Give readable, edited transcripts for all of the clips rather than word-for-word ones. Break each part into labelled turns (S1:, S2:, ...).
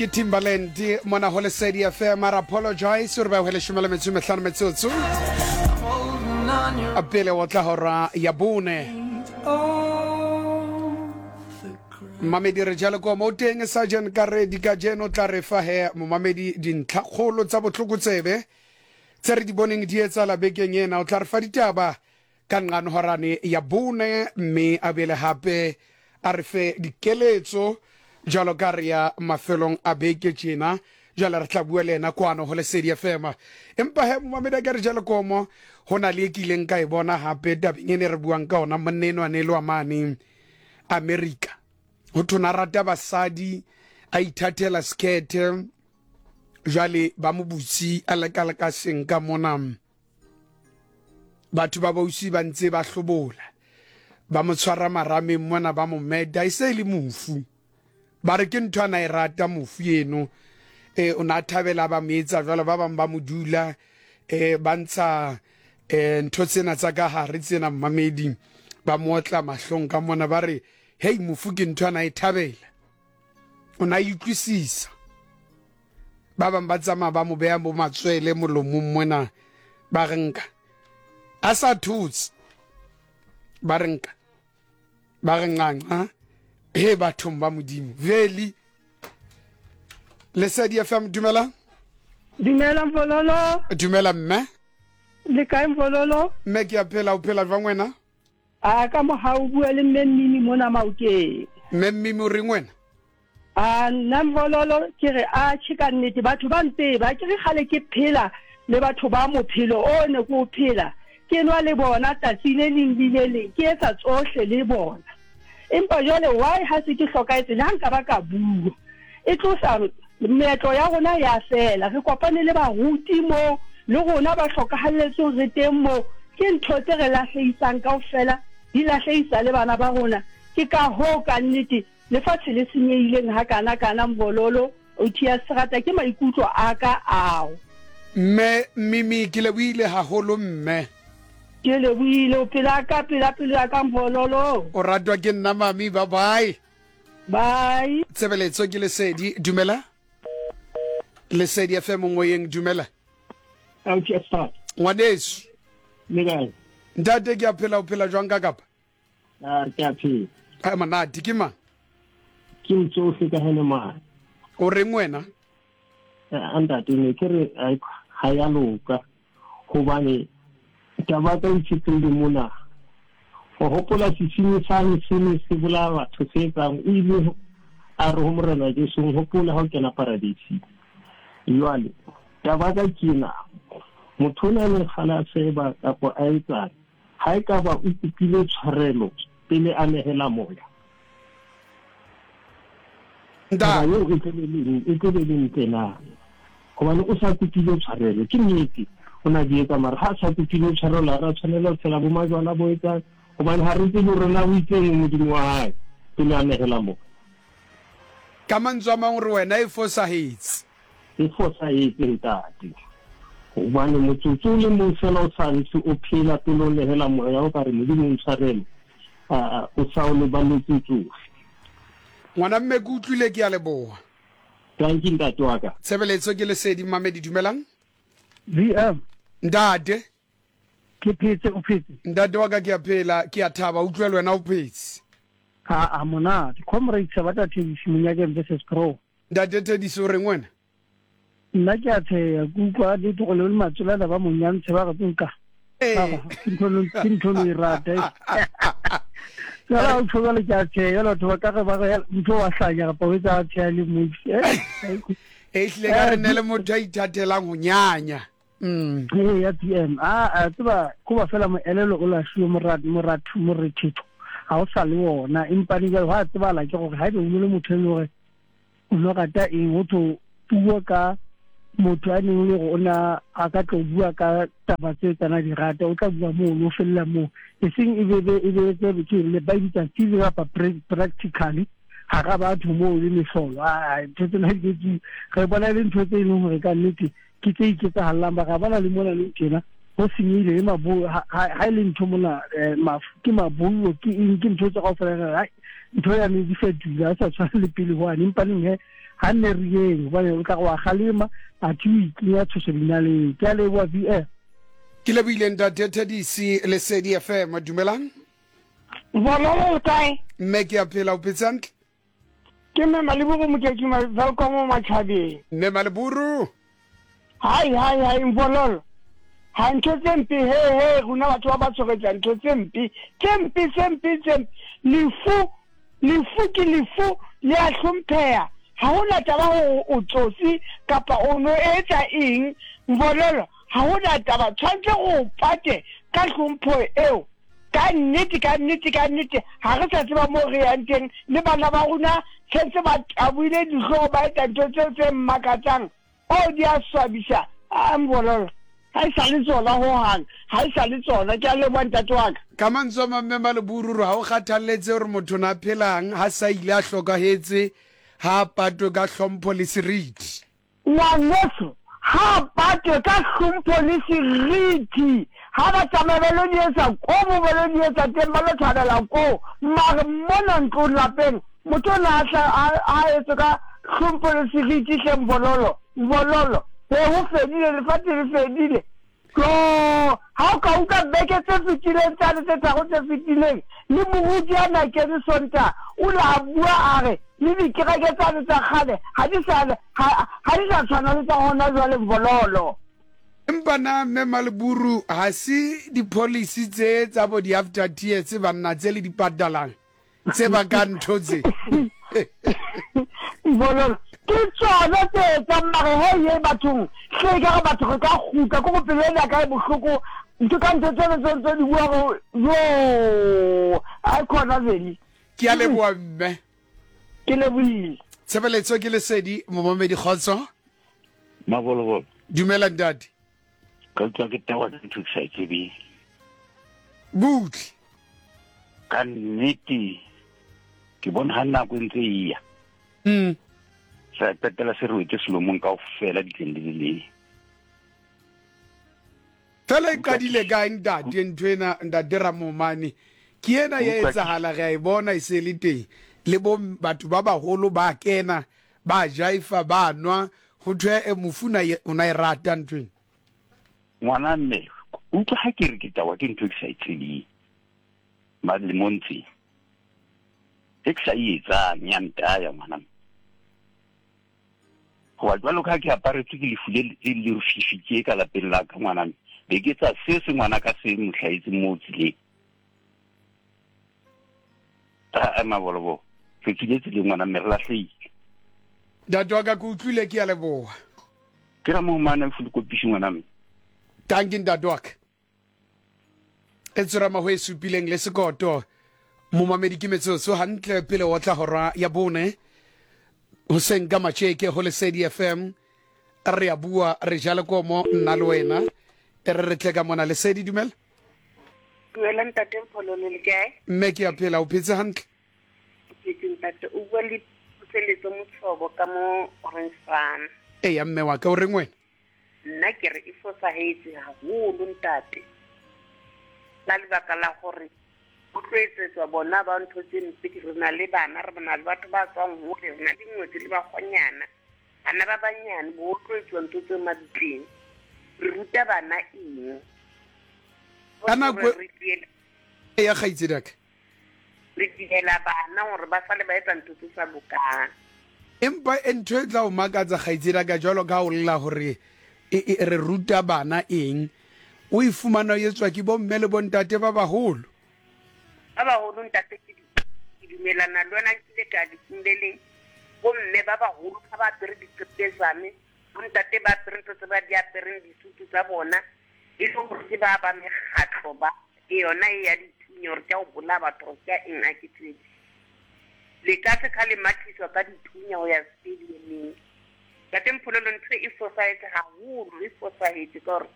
S1: Ke Timbaland mona ho Lesedi FM a re apologize gore ba hwele šome le metso e mehlano metsotso pele o tla hora ya bone. Mmamedi re jalo ko mo teng Sergeant Karedi kajeno tla re fa he momamedi dintlhakgolo tsa bohlokotsebe tse re di boneng di etsala bekeng ena. O tla re fa ditaba ka nqanhorane ya bone mme a bele hape a re fe dikeletso jalo ka re ya mafelong a beke tjena. Jwale re tla bua le yena kwano ho Lesedi FM. Empa he momamedi a ke re jalo komo ho na le e kileng ka e bona hape tabeng e ne re buang ka ona monna enwa ne le wa mane America. Ho thwe na rata basadi a ithathela sekhethe jwale ba mo butsi a leka seng ka mona. Batho ba bausi ba ntse ba hlobola, ba mo tshwara marameng mona, ba mo meta, e se e le mofu. Ba re ke ntho a na e rata mofu eno. E, o na a thabela ba mo etsa jwalo, ba bang ba mo dula, e, ba ntsha e, ntho tsena tsa ka hare tsena mmamedi, ba mo otla mahlong ka mona, ba re, hei, mofu ke ntho a na e thabela. O na e utlwisisa. Ba bang ba tsamaya ba mo beha bo matswele molomong mona, ba re nka a sa thotse, ba re nka ba re nqanqa he bathong ba Modimo. Veli Lesedi FM, dumela.
S2: Dumela Mfololo.
S1: Dumela mme.
S2: Le kae Mfololo?
S1: Mme ke a phela, o phela jwang wena?
S2: A ka mohau bua le mme Mmimi mona Maokeng.
S1: Mme Mmimi o reng wena?
S2: A nna Mvololo ke re a tjhe ka nnete batho ba ntseba ke re kgale ke phela le batho ba mophelo o ne ke o phela ke nwa le bona tsatsi le leng le le leng ke etsa tsohle le bona empa jwale why ha se ke hlokahetse le ha nka ba ka bua e tlosa meetlo ya rona ya fela re kopane le baruti mo le rona ba hlokahalletsweng re teng mo ke ntho tse re lahlehisang kaofela di lahlehisa le bana ba rona ke ka hoo ka nnete Lefatshe le senyehileng hakana kana Mbololo, Otias Serata ke maikutlo a ka ao.
S1: Mme Mimi ke lebohile haholo mme.
S2: Ke lebohile o pela ka pela pelo ya ka Mbololo.
S1: O ratwa ke nna mami bye bye.
S2: Bye.
S1: Tshebeletso ke Lesedi dumela. Lesedi FM moyeng dumela.
S3: Otias Serata.
S1: Ngwaneso.
S3: Le kae?
S1: Ntate ke a phela o phela jwang ka kapa?
S3: A ke a phela.
S1: A monate ke mang?
S3: Ke motsofe ka hene mane.
S1: O reng wena?
S3: A ntate ne ke re ha ya loka hobane taba tsa itshetlehile mona. O hopola sesinyi sane se ne se bolaya batho se etsang o ile a re ho Morena Jesu hopola ha o kena paradising. Jwale taba ka ke ena motho o na le kgale a seba kapa a etsang Ha ekaba o kopile tshwarelo pele a nehela moya, taba eo e tlo be le e tlo be le ntle na? Hobane o sa kopile tshwarelo, ke nnete o na di etsa, mara ha a sa kopile tshwarelo ha ra tshwanela ho tshela bo majwala bo etsang, hobane ha re tsebe hore na o itseng Modimo wa hae pele a nehela moya.
S1: Ka mantswe a mang o re wena e fosahetse.
S3: E fosahetse ntate. Hobane motsotso o le mong fela o sa ntse o phela pele o nehela moya o ka re Modimo o ntshwarele, o sa o leballetse tsohle.
S1: Ngwana mme ke utlwile ke a leboha.
S3: Tanki ntate wa ka.
S1: Tshebeletso ke Lesedi Mmamedi dumelang.
S4: VM.
S1: Ntate.
S4: Ke phetse o phetse.
S1: Ntate wa ka ke a phela ke a thaba utlwe le wena o phetse.
S4: Ha a monate. Comrade Sabata Thabisi Monyakeng versus Pro.
S1: Ntate Tediso o reng wena?
S4: Nna ke a tsheya ke utlwa le tlogo le matsolana ba monyantshe ba re nka. Ke ntho lo e rata. Jala o tshwana le ke a tsheya batho ba ka re ba re ntho wa hlanya kapa o etsa a tsheya le mofi.
S1: E hlile ka re ne le motho a ithatelang ho nyanya.
S4: Mm. Ee ya PM a a tseba ko ba fela moelelo o lahlile morat morat morethetho ga o sa le wona empa ne jalo ga tsebala ke gore ga ebe o le motho e le gore o no rata eng go tho puo ka motho a neng le gore o na a ka tlo bua ka taba tse tsana di rata o tla bua moo o felela moo e seng e be e be tse ke le ba bitsa theory kapa practically gara batho moo le mehlolo a ntho tsena di re bona e le ntho tse e leng gore ka nnete ke tse iketsahalelang ba ga bana le mona le tjena ho senyehile le mabo ha e le ntho mona eh, mafu ke mabollo ke eng ke ntho tse kaofela re hai ntho ya ne di fetohile ha sa tshwane le pele hwane empa neng he Ga nne re yeng, gobane o tla re wa kgalema, athe o ikenya tshoso dinaleng. Ke a leboha, VR.
S1: Ke lebohile ntate Thadisi, Lesedi FM. Dumelang.
S5: Bololo le kae?
S1: Mme ke a phela, o phetse hantle?
S5: Ke mme Maleburu Moketši Welkom mo matšhabeng.
S1: Mme Maleburu.
S5: Hai hai hai Mbololo. Ha ntho tse mpe he he rona batho ba ba tshoretsa ntho tse mpe tse mpe tse mpe tse mpe lefu lefu ke lefu le a hlompheha ha hona taba hore o tsotsi kapa o no etsa eng Mbololo ha hona taba tshwantse go pate ka hlompho eo Ka nnete, ka nnete, ka nnete, ga re sa tseba moo re yang teng, le bana ba rona sentse ba taboile dihlooho ba etsa ntho tseo tse mmakatsang. Oh, di a swabisa. A Mbololo, ga e sa le tsona hohang, ga e sa le tsona. Ke a leboha, ntate wa ka.
S1: Ka mantswe a mang, Mme Maleburu, ha o kgathalletse hore motho na phelang ha sa ile a hlokahetse, ha a patwe ka hlompho le seriti.
S5: Ngwaneso ha a patwe ka hlompho le seriti. Ha ba tsamaya ba lo di etsa ko mo ba lo di etsa teng, ba lo thabela koo. Mare mona ntlong lapeng, motho o na a hla a, a etswe ka hlompho le seriti hle Mbololo, Mbololo. He ho fedile, lefatshe le fedile. Joo! Ha o ka utlwa beke tse fetileng tsane tse tharo tse fetileng, le moruti a na kene Sontaha, o la a bua a re, le dikereke tsane tsa kgale ha di sa, ha, ha di sa tshwana le tsa hona jwale, Mbololo.
S1: Empa na Mme Maleburu ha se di-policy tse tsa bo di-after tears banna tse le di patalang? Tse bakang ntho tse.
S5: Bololo ke tsona tse etsang mare he ye bathong hle e ka re batho re ka kgutla ko go pelo ena ka e bohloko ntho ka ntho tseno tse ntse di bua go yo a khona veli.
S1: Ke a leboha mme.
S5: Ke lebohile.
S1: Tshebeletso ke lesedi momamedi kgotso.
S6: Mabolobolo.
S1: Dumela ntate.
S6: Ka utlwa ke tawa ke ntho ke sa e tsebeng.
S1: Butle.
S6: Ka nnete ke bona ha nako e ntse e ya. Sa qetela se re wetse selomong kaofela ditleng le le leng.
S1: Fela e qadile kae ntate ntho ena ntate Ramomane? Ke ena ya etsahala re a e bona e se le teng. Le bo batho ba baholo ba kena ba jaifa ba nwa ho thwe e mofu na o na e rata ntho ena.
S6: Ngwana mme utlwa ha ke re ke tawa ke ntho e ke sa e tsebeng malemong tse e ke sa e etsang ya ntaya ngwana mme. Hoba jwalo ka ha ke aparetswe ke lefu le le lefifi tje ka lapeng la ka ngwana mme, be ke etsa se se ngwana ka se mo hlahetseng moo tseleng. A mabolobo, re tswile tseleng ngwana mme re lahlehile.
S1: Ntate wa ka ke utlwile ke a leboha.
S6: Ke ra mohomane o fulokopiši ngwana mme.
S1: Dankie ntate wa ka. E tsorama ho e supileng le sekoto. Momamedi ke metsotso hantle pele o tla hora ya bone. Hoseng ka matjeke ho Lesedi FM. Re a bua re ja lekomo nna le wena. E re re tle ka mona Lesedi dumela.
S7: Dumela ntate Mphololo le kae?
S1: Mme ke a phela o phetse hantle?
S7: Ke phetse ntate o bua le Puseletso Motshobo ka mo Orange Farm.
S1: Eya mme wa ka o reng wena?
S7: Nna ke re e fosahetse haholo ntate. Ka lebaka la gore go tlo etsetswa bona ba ntho tse mpe re na le bana re na le batho ba tswang hole re na le dingwetsi le bakgonyana bana ba banyane bo tlo etsuwa ntho tse mabitleng re ruta bana eng
S1: ka nako ya kgaitsedaka
S7: re dihela bana gore ba sale ba etsa ntho tse sa lokang.
S1: Empa e ntho e tla o makatsa kgaitsedaka jwalo ka o lla gore e, e, re ruta bana eng o e fumana o etswa ke bomme le bontate ba baholo.
S7: Ba baholo ntate ke ke dumelana le wena nkile ka lefung le leng bomme ba baholo ga ba apere diqepezane bontate ba apere ntho tse ba di apereng disutu tsa bona e le gore ke ba ba mekgatlho ba Ke yona e ya dithunya gore ke ya go bolaya batho gore ke ya eng a ke tsebe. Le ka se ka le mathiswa ka dithunya go ya stadiumeng. Ntate Mphololo ntho e fosahetse haholo, e fosahetse ka gore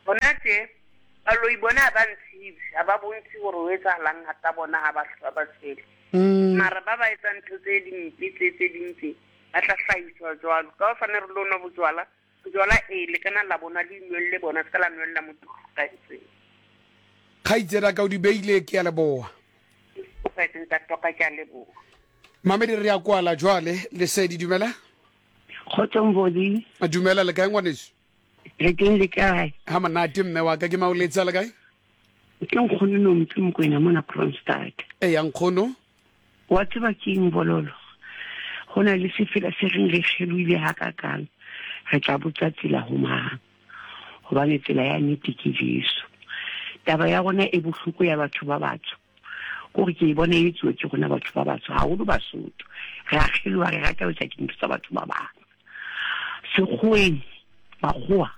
S7: hona tje baloi bona ha ba ntshibe, ha ba bontshe gore ho etsahalang ka bona ha ba ba tshwele. Mara ba ba etsang ntho tse dimpe tse tse ding tse ba tla hlahiswa jwalo. Ka hosane re lo nwa bojwala Jwala ee, le ka na la bonwa le inwelle bona, se ka la nwella motho o hlokahetseng.
S1: Kgaitsedi ka o di beile, ke a leboha.
S7: Ntate wa ka, ke a leboha.
S1: Mamedi re ya kwala jwale. Lesedi, dumela.
S8: Kgotsong Bodi.
S1: Dumela, le kae ngwaneso?
S8: Re teng, le kae?
S1: Ha monate mme wa ka, ke maoletsa le kae?
S8: Ke nkgono no motse Mokwena mona Kroonstad.
S1: Eya nkgono.
S8: Wa tseba ke eng bololo? Go na le sefela se reng re kgelohile hakakang, re tla botsa tsela ho mang? Hobane tsela ya nnete ke Jesu. Taba ya rona e bohloko ya batho ba batsho, kore ke e bona e etsuwa ke rona batho ba batsho, haholo Basotho. Re a kgeloha, re rata ho etsa dintho tsa batho ba bang. Sekgoweng, makgowa,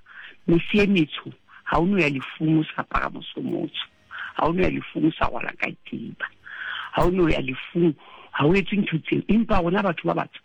S8: mese e metsho, ha o no ya lefung o sa apara mosomotsho. Ha o no ya lefung o sa rwala katiba. Ha o no ya lefung ha o etse ntho tseo. Empa rona batho ba batsho,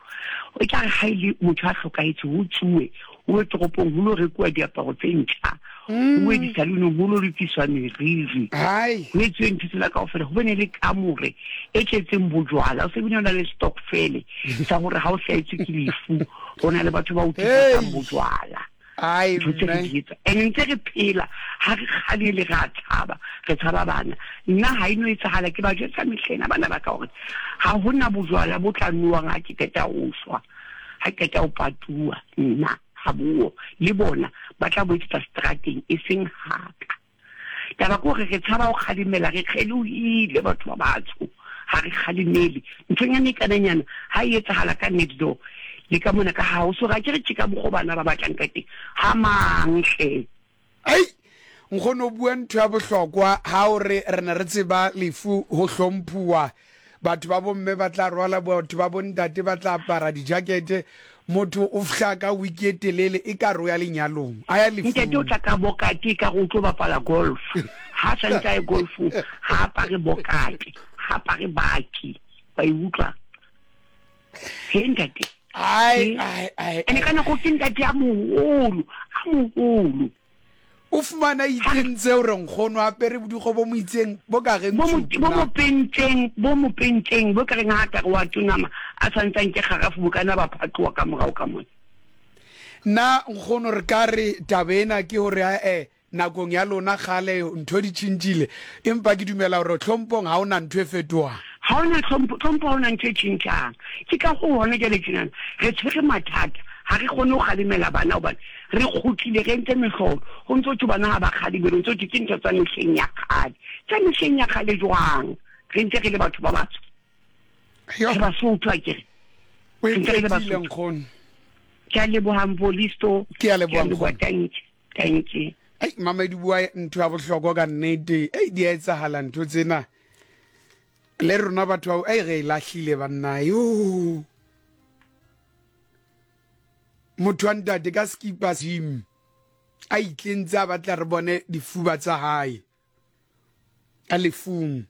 S8: e tla re ha e le motho a hlokahetse ho tsuwe, ho ye toropong ho lo rekuwa diaparo tse ntjha, ho ye disalonong ho lo lokiswa meriri, ho etsuwe ntho tsena kaofela, ho bene le kamore e tletseng bojwala. O se bile o na le stokfele sa hore ha o hlahetswe ke lefu, ho na le batho ba o thusang bojwala. Ntho tse re di etsa and ntse re phela, ha re kgalele, re a tshaba, re tshaba bana. Nna ha e no etsahala, ke ba jwetsa mehlena bana ba ka hore ha hona bojwala bo tla nowang ha ke qeta ho shwa, ha ke qeta ho patuwa, nna ha buo le bona ba tla bo etsetsa strateng e seng haka. Taba ke hore re tshaba ho kgalemela, re kgelohile batho ba batsho, ha re kgalemele. Nthonyana e kananyana ha e etsahala ka next door le ka mona ka hao, so ga ke re tje ka mokgo bana ba batlang ka teng, ha mang hle.
S1: Ai, nkgono o bua ntho ya bohlokwa ha o re re ne re tseba lefu ho hlomphuwa. Batho ba bomme ba tla rwala, batho ba bontate ba tla apara dijakete. Motho o fhla ka wiki e telele e ka re o ya lenyalong, a ya lefung.
S8: Ntate o tla ka bokate e ka re o tlo bapala golf. Ha a santse a ye golfong, ha apare bokate, ha apare baki. Wa e utlwa? He ntate.
S1: Ai, ai, ai.
S8: Ene ka nako ke ntate a moholo, a moholo.
S1: O fumana itseng tseo re nkgono apere bodikgo bo mo itseng bo ka reng
S8: Bo mo bo mo pentseng, bo mo pentseng, bo ka reng ha ka re wa tonama a santsang ke kgarafu bo kana ba phatloha ka morao ka mona.
S1: Nna nkgono re ka re taba ena ke hore ae nakong ya lona kgale ntho di tšhintšile, empa ke dumela hore tlhompong ha ona ntho e fetohang.
S8: Ha ona tlhompho, tlhompho ha ona ntho e tšhintšhang. Ke ka hoo hona jwale tjenana re tshwere mathata, ha re kgone ho kgalemela bana hobane Re kgutlile re entse mehlolo. Ho ntso thwe bana ha ba kgalebelwe, ho ntso thwe ke ntho tsa mehleng ya kgale. Tsa mehleng ya kgale jwang? Re ntse re le batho ba batsho. Re Basotho akere.
S1: Re ntse re le Basotho.
S8: Ke a leboha Mvolisto.
S1: Ke a leboha nkgono.
S8: Thank you. Thank you.
S1: Ei, Mamedi bua ntho ya bohlokwa ka nnete. Ei, di a etsahala ntho tsena. Le rona batho bao, ei re e lahlile banna. Yo. Motho wa ntate ka skipa gym a itlentse a batla re bone difuba tsa hae a lefung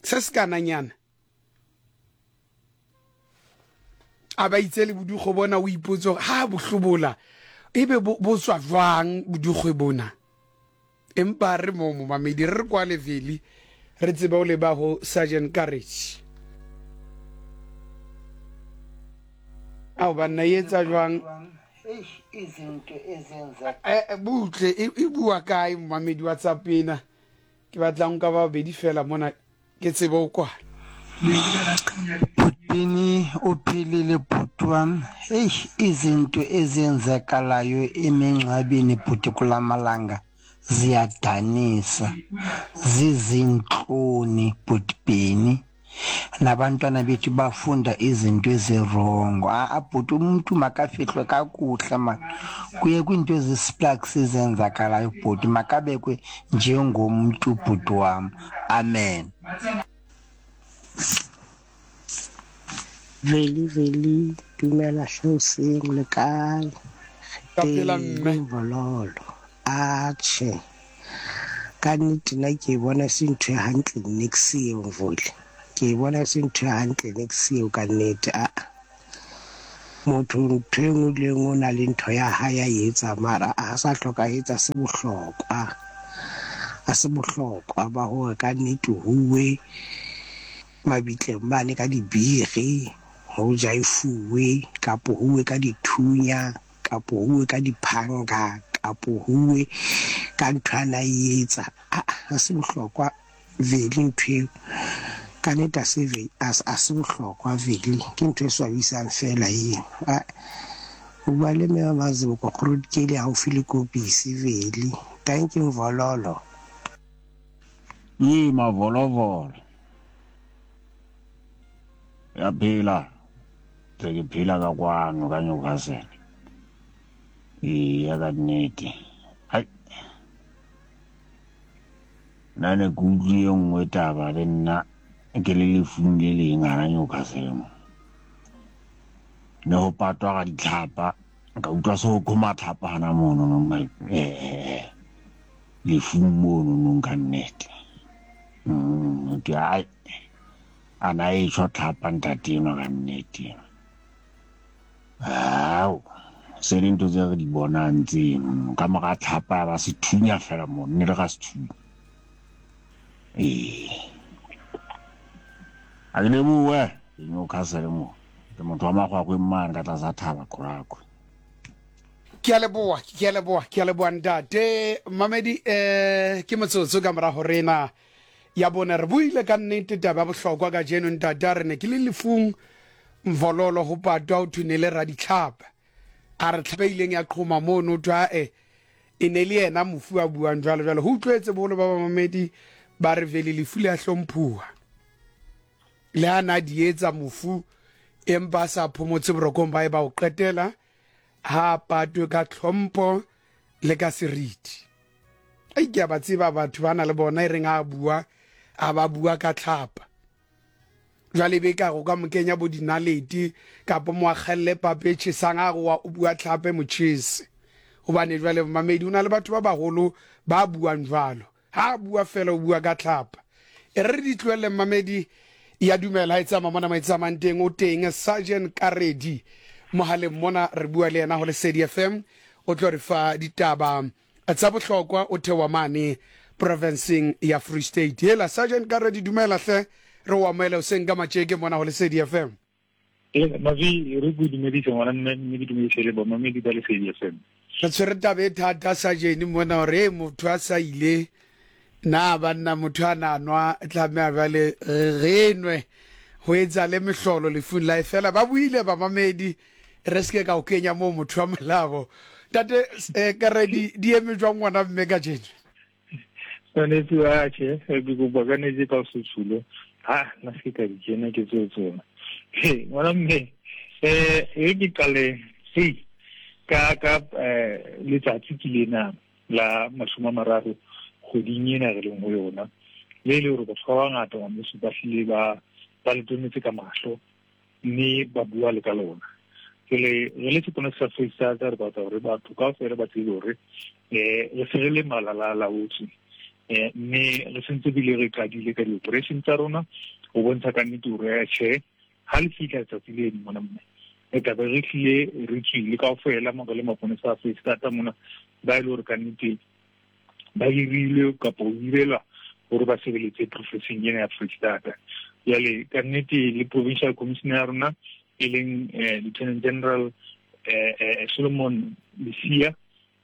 S1: se se kananyana a ba itse le bodikgo bona o ipotse gore ha bo hlobola ebe bo tswa jwang bodikgwe bona. Empa re moo momamedi, re re kwale Veli, re tsebe o leba ho Sergeant Courage. Ao banna e etsa jwang? Eh, eh, butle e, e bua kae momamedi wa tsapena? Ke batla nka ba babedi fela mona ke tsebe o kwala.
S9: Bhutini o philile bhuti wam. Eish izinto ezenzakalayo emingcwabeni bhuti kulamalanga ziyadanisa zizintloni bhuti Benny. Nabantwana bethu bafunda izinto ezirongo. A-a bhuti umntu makafihlwe kakuhle man. Kuye kwiinto ezisplaks ezenzakalayo bhuti makabekwe njengomntu bhuti wam. Amen.
S10: Veli Veli dumela hle hoseng le kae?
S1: Ka phela mme.
S10: Bololo. Atjhe. Ka nnete nna ke e bona se ntho e hantle nix eo Mvoli. Ke e bona se ntho e hantle nix eo ka nnete a. Motho ntho e nngwe le nngwe o na le ntho ya hae ya e etsa mara a sa hlokahetse a se bohlokwa. A se bohlokwa ba hore ka nnete huwe mabitleng mane ka dibiri ho jaifuwe kapo huwe ka dithunya kapo huwe ka diphanga kapo huwe ka ntho a na e etsa. Aa ha se bohlokwa vele ntho eo. Ka nnete a se a se bohlokwa vele ke ntho e swabisang fela eo. A o bua le mme wa Mazibuko Grootkeile haufi le Kopisi vele. Dankie Mvololo.
S11: Ye mavolovolo. Ya phela. Tse ke phela ka kwano ka Newcastle. Eya ka nnete. Hai. Nna ne ke utlwe e nngwe taba le nna ke le lefung le leng hana Newcastle mo. Ne ho patwa ga ditlhapa ka utlwa se ho qhoma tlhapa hana mono no eh lefung mono no ka nnete. Ke ai ana e tjho tlhapa ntate enwa ka nnete. Ao, se le ntho tse re di bonang tseno. Ka mora tlhapa ya ba sethunya fela mo, nne le ga sethunya. Ee. A ke lebohe, ke Newcastle mo. Ke motho wa magwagweng mane ka tlasa thaba Qorakhwe.
S1: Ke a leboa, ke a leboa, ke a leboa ntate. Mamedi eh ke motsotso ka morago rena ya bone re buile ka nnete taba ya bohlokwa kajeno ntate a re ne ke le lefung mvololo go patwa o thwe ne le raditlhapa a re tlhape ileng ya qhoma mono thwe ae e ne le yena mofu a buang jwalo jwalo ho utlwetse boholo ba bamamedi ba re vele lefu le a hlomphuwa le ha na di etsa mofu empa a sa phomotse borokong ba e ba o qetela ha a patwe ka tlhompho le ka seriti Ei, ke a ba tseba batho ba na le bona e reng a bua a ba bua ka tlhapa jwale be ka go ka mo kenya bo dinalete kapa mo akgelle pape e tjhesang a re wa o bua tlhape motjhese gobane jwale mamedi o na le batho ba bagolo ba buang jwalo ha a bua fela o bua ka tlhapa e re re di tlohelle mamedi ya dumela ha e tsamaya mona mo e tsamayang teng o teng sergeant karedi mogaleng mona re bua le yena go lesedi fm o tlo re fa ditaba Tsa bohlokwa o theoha mane profenseng ya Free State. Hela Sergeant Karedi dumela hle re o amohele hoseng ka matjeke mona ho Lesedi FM.
S12: Ee, Mavi re go dumedise ngwana mme mme ke dumedise le bamamedi ba Lesedi FM.
S1: Re tshwere taba e thata Sergeant mona hore e motho a sa ile na banna motho a na nwa tlameha jwale re nwe ho etsa le mehlolo lefung la e fela ba buile bamamedi re se ke ka o kenya moo motho wa molabo tate eh, kare di di eme jwang ngwana mme ka jeno
S12: tshwanetse wa tjhe ke kopa ka netse ka setshulo ha nna se ka di kena ke tseo tsona he ngwana mme eh e ke qale hei ka ka eh letsatsi ke lena la 30 kgweding ena re leng ho yona le le hore batho ba bangata ngwaneso ba hlile ba ba le tonetse ka mahlo mme ba bua le ka lona jale re le seponesa sa Freistata re batla gore batho kaofela ba tsebe gore um re se re le malala a laotswe um mme re sentse bile re qadile ka di-operation tsa rona go bontsha ka nnete gore tjhe ha le fitlha letsatsi leno mona mme re tlabe re tlile re tswile kaofela mo re le maponesa a Freistata mona ba e le gore ka nnete ba hirilwe kapa ho hirelwa gore ba sebeletse professing ena ya Freistata jale ka nnete le provincial commissioner ya rona e leng eh, lieutenant general eh, eh, Solomon Lesia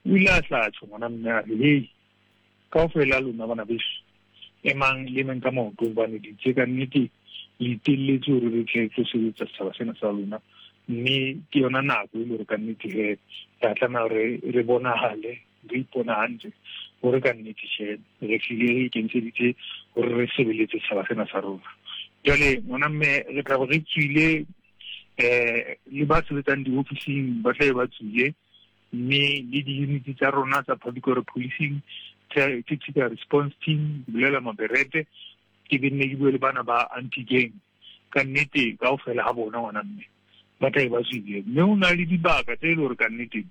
S12: o ile a tla tjho ngwana mme a re hei kaofela lona bana beso emang le emeng ka maoto hobane ditse ka nnete le itelletse hore re tle tlo sebetsa setjhaba sena sa lona mme ke yona nako e le hore ka nnete he re tlameha hore re bonahale re ipona hantle gore ka nnete she re tlile re ikemiseditse gore re sebeletse setšhaba sena sa rona jale ngwana mme re tla re tswile um le ba sebetsang diofising ba tlabe ba tswile mme le di-unit tsa rona tsa public order policing tactical response team ke bolela maberete ke be nne ke bue le bana ba anti gang ka nnete kaofela ga bona ngwana mme ba tlabe ba tswile mme o na le dibaka tse e le gore ka nnete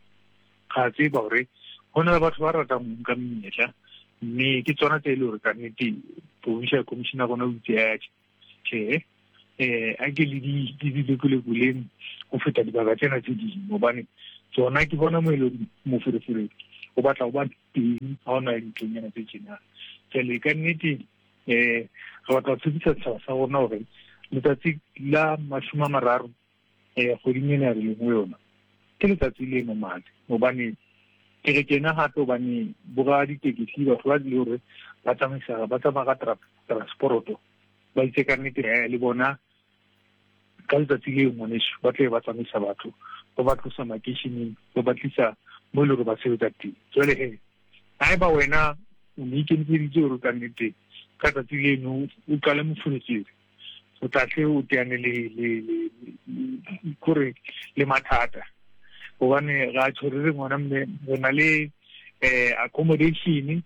S12: ga tseba gore go na le batho ba ratang go nka menyetla mme ke tsona tse e le gore ka nnete provincial commissioner rona o itse a tjhe eh a ke le di di lekolekoleng go feta dibaka tsena tse dingwe gobane tsona ke bona mo e leng moferefere o batla go ba teng ga o na le dintlonyana tse tjena jale ka nnete um re batla go tshepisa setšhaba sa rona gore letsatsi la 30 um kgweding ena re leng go yona ke letsatsi le momale gobane ke re kena gape gobane bora ditekesi batho ba le gore ba tsamaisa ba tsamaya ka transporoto Ba itse ka nnete eh, le bona ka letsatsi leo ngwaneso ba tle ba tsamaisa batho ba ba tlosa makeisheneng ba ba tlisa mo e le gore ba sebetsa teng. Jwale he haeba wena o ne ikemiseditse gore ka nnete ka tsatsi leno o qale moferefere, o tla tle o teane le le le kore le mathata, gobane ga tjho re re ngwana mme re na le accommodation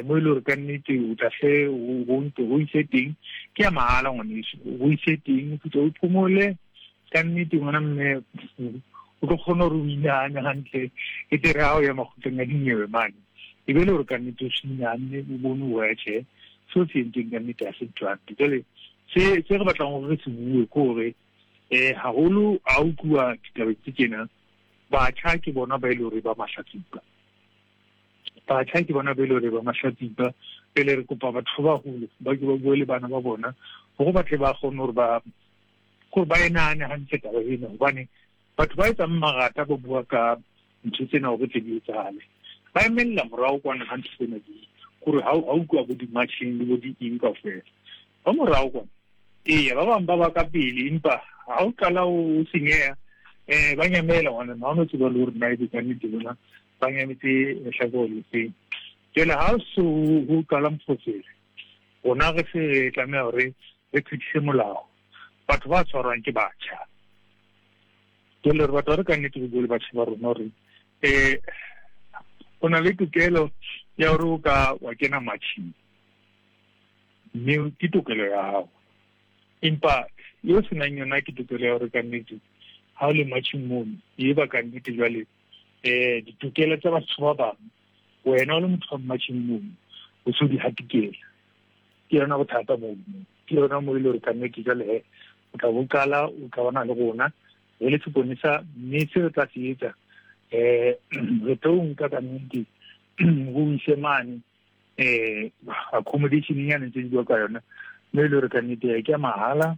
S12: mo e le gore ka nnete o tla hle o ntse o ise teng, ke ya mahala ngwaneso, o ise teng o fitlhe o phomole ka nnete ngwana mme, o tlo kgona gore o inahane hantle, e tle re ha o ya makgotleng a dinyewe mane e be le gore ka nnete o se inahanne, o bone o ya tjhe seo se entseng ka nnete ha se ntho hantle. Jwale se se re batlang gore re se bue ke gore haholo a utlwa ditaba tse tjena, batjha ke bona ba e le gore ba mahlatsipa, batjha ke bona ba e le gore ba mahlatsipa. Pele re kopa batho ba baholo ba ke ba bue le bana ba bona gore ba tle ba kgone gore ba gore ba e nahane hantle taba ena, hobane batho ba etsang marata ba bua ka ntho tsena hore tle di etsahale, ba emella morao kwana ha ntho tsena di gore ha o utlwa bo di-marching le bo di eng kaofela ba morao kwana. Eya, ba bang ba ba ka pele, empa ha o qala o senyeha ba nyamela ngwana, ha o no tseba le hore na ebe ka nnete bona ba nyametse lehlakore le feng. Jwale ha o so ho qala moferefere, rona re se re tlameha hore re phethise molao. Batho ba tshwarwang ke batjha. Jwale re batla re ka nnete re bue le batjha ba rona hore o na le tokelo ya hore o ka wa kena matjheng, mme ke tokelo ya hao, empa eo senang yona ke tokelo ya hore ka nnete ha o le matjheng mono e ba ka nnete jwale ditokelo tsa batho ba bang wena o le motho wa matjheng mono o so di hatikela. Ke yona bothata moo, ke yona mo e le hore ka nnete jwale he o tla bo qala o qabana le rona re le seponesa, mme se re tla se etsa re tlo nka ka nnete go ise mane accommodation ya ntse di bua ka yona, mme e le hore ka nnete ke ya mahala.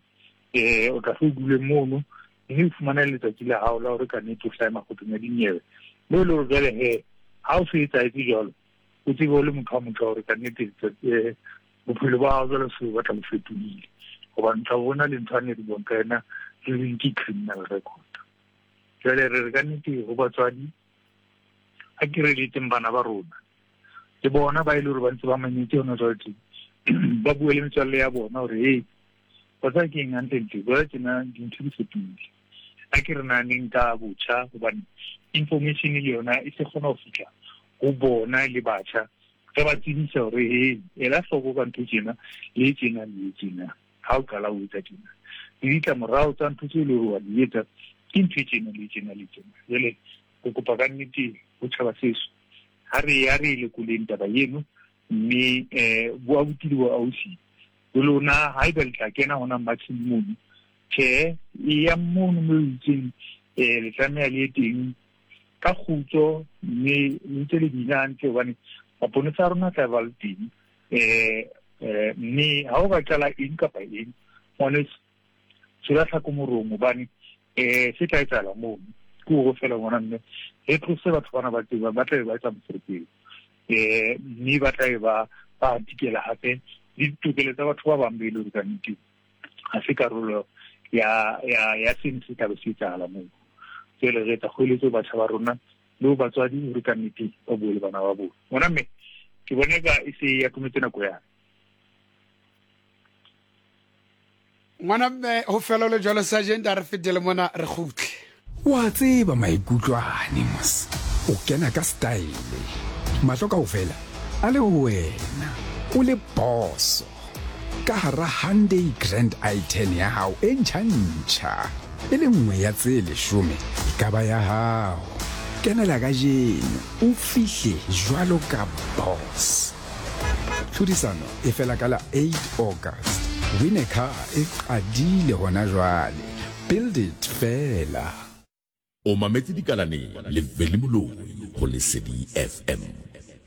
S12: O tla se o dule mono mme o fumane letsatsi la hao la hore ka nnete o hlahe makgotleng a dinyewe, mme e le hore jwale he ha o se etsahetse jwalo, o tsebe o le motho wa motho hore ka nnete bophelo ba hao jwale se batla bo fetohile, hobane tla bona le ntho a ne re buang ka yena re reng ke criminal record. Jwale re re ka nnete ho batswadi a ke re letseng bana ba rona le bona ba e le hore ba ntse ba mametse hona jwale teng, ba bue le metswalle ya bona hore hey, wa tseba ke eng hantlentle jwale tjena dintho di fetohile, a ke re nahaneng ka botjha, hobane information le yona e se kgona ho fihla ho bona le batjha, re ba tsebisa hore hey, ela hloko ka ntho tjena le tjena le tjena, ha o qala o etsa tjena le ditlamorao tsa ntho tseo e le hore wa di etsa ke ntho e tjena le tjena le tjena. Jwale re kopa ka nnete ho tjhaba seso ha re ya re lekoleng taba eno, mme bo abuti le bo ausi le lona haeba le tla kena hona matching mono, tjhe, e ya mono mo itseng le tlameha le ye teng ka kgutso, mme le ntse le bina hantle, hobane maponesa a rona tla ba le teng mme ha o ka qala eng kapa eng ngwaneso, tswela tlhako morong, hobane se tla etsahala mono ke hore fela ngwana mme re tlose batho bana ba tseba ba tlabe ba etsa moferefere, mme ba tlabe ba ba hatikela hape le ditokelo tsa batho ba bang be e le hore ka nnete ha se karolo ya ya ya seno se tlabe se etsahala moo. Jwale re etsa kgoeletso batjha ba rona le ho batswadi hore ka nnete ba bue le bana ba bona. Ngwana mme ke bone ka e se ya atometse nako ya
S1: Ngwana mme ho fela le jwalo sergeant, a re fetele mona re kgutle.
S13: Wa tseba maikutlo ane mos, o kena ka style, mahlo kaofela a le ho wena, o le boso ka hara Hyundai Grand i10 ya hao e ntjha-ntjha. E le nngwe ya tse leshome e ka ba ya hao. Kenela kajeno o fihle jwalo ka boss. Tlhodisano e fela ka la 8 August. Win a car e qadile hona jwale. Build it feela.
S14: O mametse Dikalaneng le Veli Moloi ho Lesedi FM.